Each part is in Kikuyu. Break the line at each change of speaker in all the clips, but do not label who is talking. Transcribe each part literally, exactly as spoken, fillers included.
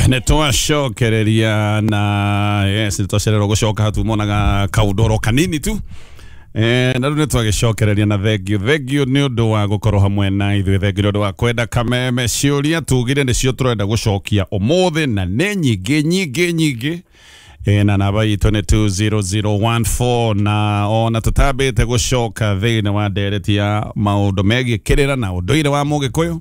Nä twacokereria na yes, nä twacererwo gå coka hatumonaga kaundoro kanini tu. Eh, na rä u nä twagä na thengio thengio nä å ndå wa gå korwo hamwe na ithuä, thengio nä å ndå wa kwenda kameme. Ciå tugire nä cio tå renda gå cokia å må thä na nä nyingä nyingä nyingä. E, na namba itå nä two zero zero one four na ona tå tambä te gå coka thä inä wa ndereti ya maå ndå megiä kä rä ra na å ndå ire wa må gä kå yå.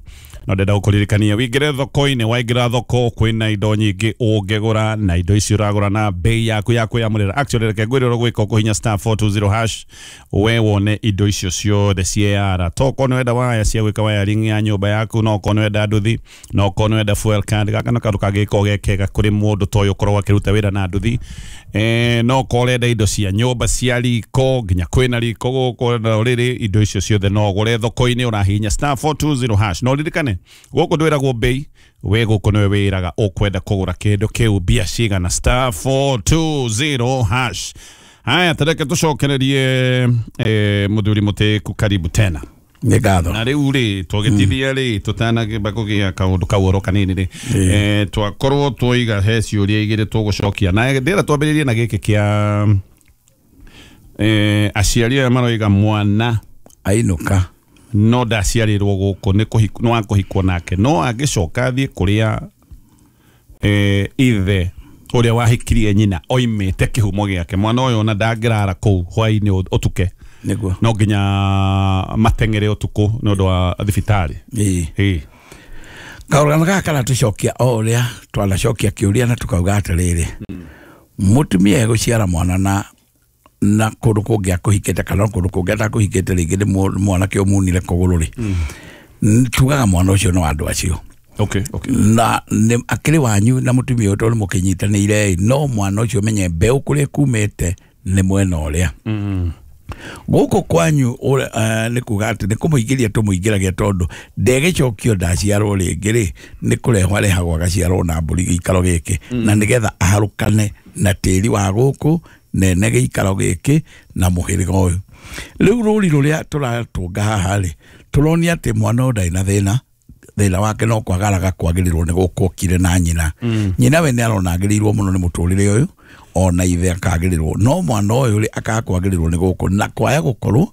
No ndenda gå kå ririkania wingä re thoko-inä, waingä ra thoko kwä indo nyingä å ngä gå ra na indo icio å ragå ra na bei yaku ya kwä amå rä ra. Actually reke ngwä re å gwä ka å kå hinya star four two zero hash we wone indo icio ciothe ciara. Tokorwo nä wenda waya cia gwä ka wiring ya nyå yaku, no korwo nä wenda nduthi, no korwo nä wenda fuel card, gaka no kandå kangä korwo gekega kå rä må ndå ta å yå å koragwo akä ruta wä ra na nduthi. Eh, no korwo ũrenda indo cia nyũmba cia riko, nginya kwĩna riko gũkũ na rĩrĩ, indo icio ciothe no ũgũre thoko-inĩ ũrahihinya star four two zero hash. No ririkane gũkũ ndwĩragwo bei, we gũkũ nĩwe wĩraga ũkwenda kũgũra kĩndũ kĩu mbia cigana, star four two zero hash. Haya, tareke tũcokererie eh, mũthuri Mũtĩku, karibu tena.
Nĩ ngatho.
Na rĩu rĩ twagĩtithia rĩ tũtanagĩmba kũgĩa kaũndũ kau kanini rĩ, eh, twakorwo twoiga he ciũria igĩrĩ tũgũcokia na ndĩra twambĩrĩrie na gĩkĩ kĩa eh, aciari aya maroiga mwana
ainũka
no ndaciarĩrwo gũkũ nĩ kũhikwo, nĩ wa kũhikwo nake, no angĩcoka athiĩ kũrĩa eh, ithe ũrĩa wahikirie nyina oimĩte kĩhumo gĩake, mwana ũyũ ona ndangĩrara kũu hwaĩ-inĩ ũtuke
nĩguo
no nginya mateng'ere ũtukũ nĩ ũndũ wa thibitarĩ.
Ĩĩ kaũrugano gaka karatũcokia o ũrĩa twanacokia kĩũria na tũkauga atĩrĩrĩ, mũtumia egũciara mwana na na kũndũ kũngĩ akũhikĩte kana kũndũ kũngĩ atakũhikĩte, rĩngĩ nĩ mwanake ũmunire kũgũrũ rĩ, tugaga mwana ũcio no andũ acio.
Okay, okay.
Na nĩ akĩrĩ wanyu na mũtumia ũyũ tondũ mũkĩnyitanĩire, no mwana ũcio menye mbeũ kũrĩa kumĩte nĩ mwena ũrĩa. Gũkũ kwanyu nĩ kuga atĩ nĩ kũmũingĩria tũmũingĩragia tondũ ndegĩcokio ndaciarwo rĩngĩ rĩ, nĩ kũrehwo arehagwo agaciarwo na mbũri gĩikaro gĩkĩ, na nĩgetha aharũkane na tĩri wa gũkũ nene gĩikaro gĩkĩ na mũhĩrĩga ũyũ. Rĩu rũri rũrĩa tũratũnga haha rĩ, tũronia atĩ mwana ũyũ ndarĩ na thĩna, thĩna wake no kwagaraga kwagĩrĩrwo nĩ gũkũ okire na nyina. Nyina we nĩ arona agĩrĩirwo mũno nĩ mũtũrĩre ũyũ ona ithe akagĩrĩrwo, no mwana ũyũ rĩ akaga kwagĩrĩrwo nĩ gũkũ na kwaya gũkorwo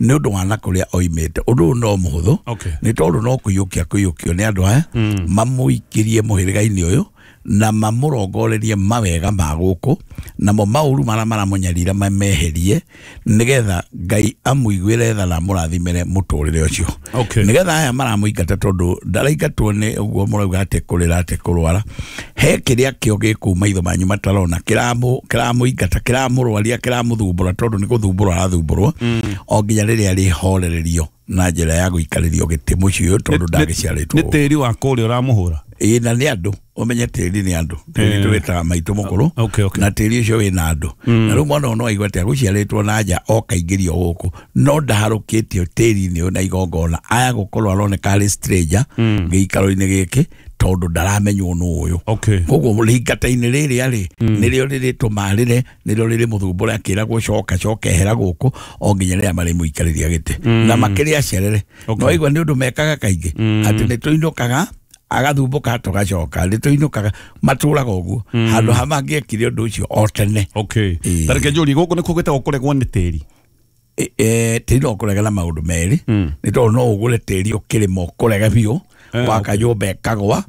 nĩ ũndũ wa na kũrĩa oimĩte. Ũndũ ũyũ no mũhũthũ nĩ tondũ no kũiyũkia kũiyũkio nĩ andũ aya mamũikĩrie mũhĩrĩga-inĩ ũyũ na mamũrongorerie mawega ma gũkũ namo maũru marĩa maramũnyarira mameherie nĩgetha Ngai amũiguĩre tha na amũrathimĩre mũtũrĩre ũcio. Nĩgetha aya maramũingata tondũ ndaraingatwo nĩ ũguo mũrauga atĩ kũrĩra atĩ kũrwara, he kĩrĩa kĩo gĩkũu maitho manyu matarona kĩramũingata, kĩramũrwaria, kĩramũthumbũra tondũ nĩ gũthumbũrwo arathumbũrwo o nginya rĩrĩa rĩhorererio na njĩra ya gũikarĩrio gĩtĩ mũciĩ ũyũ tondũ ndagĩciarĩtwo.
Nĩ tĩri wa kũrĩa ũramũhũra?
Ĩĩ, na nĩ andũ ũmenye tĩri nĩ andũ, tĩri tũwĩtaga maitũ mũkũrũ na tĩri ũcio wĩna andũ. Na rĩu mwana ũyũ no aigue atĩ agũciarĩtwo na nja okaingĩrio gũkũ no ndaharũkĩtio tĩri-inĩ ũyũ na igongona, aya gũkorwo aroneka arĩ stranger gĩikaro-inĩ gĩkĩ tondũ ndaramenywo nũ ũyũ. Koguo rĩingata-inĩ rĩrĩa rĩ nĩrĩo rĩrĩtũma rĩre, nĩrĩo rĩrĩmũthumbũra akĩragwo coka coka ehera gũkũ o nginya rĩrĩa marĩmũikarĩria gĩtĩ na makĩrĩ acerere. No aigua nĩ ũndũ mekaga kaingĩ atĩ nĩ tũinũkaga agathumbũka tũgacoka, nĩ tũinũkaga, matũraga ũguo handũ ha mangĩekire ũndũ ũcio o tene.
Okay. Ta reke njũrie, gũkũ nĩ kũgĩtagwo kũregwo nĩ tĩri?
Tĩri no ũkũrege na maũndũ merĩ, nĩ tondũ no ũgũre tĩri ũkĩrĩma ũkũrege biũ waka nyũmba ĩkagwa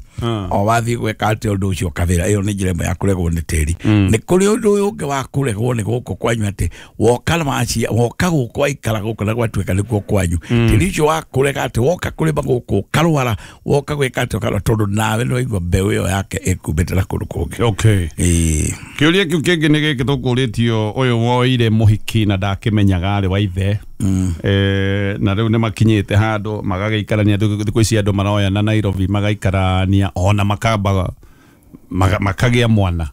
o wathiĩ gwĩka atĩ ũndũ ũcio ũkathira. Ĩyo nĩ njĩra ĩmwe ya kũregwo nĩ tĩri. Nĩ kũrĩ ũndũ ũyũ ũngĩ wa kũregwo nĩ gũkũ kwanyu atĩ woka woka gũkũ waikara gũkũ na gwatuĩka nĩkuo kwanyu, tĩri ũcio wa kũrega atĩ woka kũrĩma gũkũ ũkarwara, woka gwĩka atĩ ũkarwara tondũ nawe nĩ waigua mbeũ ĩyo yake ĩkumbĩte na kũndũ kũngĩ.
Okay. Kĩũria kĩu kĩngĩ nĩ gĩkĩ tũkũrĩtio, ũyũ woire mũhiki na ndakĩmenyaga arĩ wa ithe, na rĩu nĩ makinyĩte handũ magagĩikarania. Thikũ ici andũ maroya na Nairobi magaikarania ona makamba makagĩa mwana.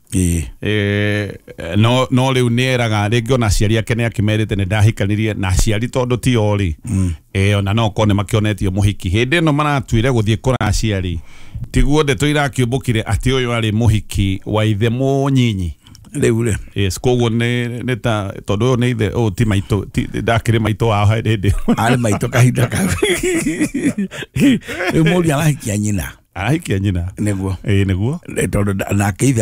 No no rĩu nĩ eraga rĩngĩ ona aciari ake nĩ akĩmerĩte nĩ ndahikanirie na aciari tondũ ti o rĩ, ona no korwo nĩ makĩonetio mũhiki. Hĩndĩ ĩno maratuire gũthiĩ kũra aciari, tiguo ndeto irakĩũmbũkire atĩ ũyũ arĩ mũhiki wa ithe mũnyinyi
rĩu rĩ.
Yes, koguo nĩ nĩ ta tondũ ũyũ nĩ ithe ũyũ ti maitũ, ndakĩrĩ maitũ wao hĩndĩ
arĩ maitũ kahinda kau. Rĩu mũriũ arahikia nyina.
Arahikia nyina.
Nĩguo.
Ĩĩ, nĩguo.
Tondũ nake ithe.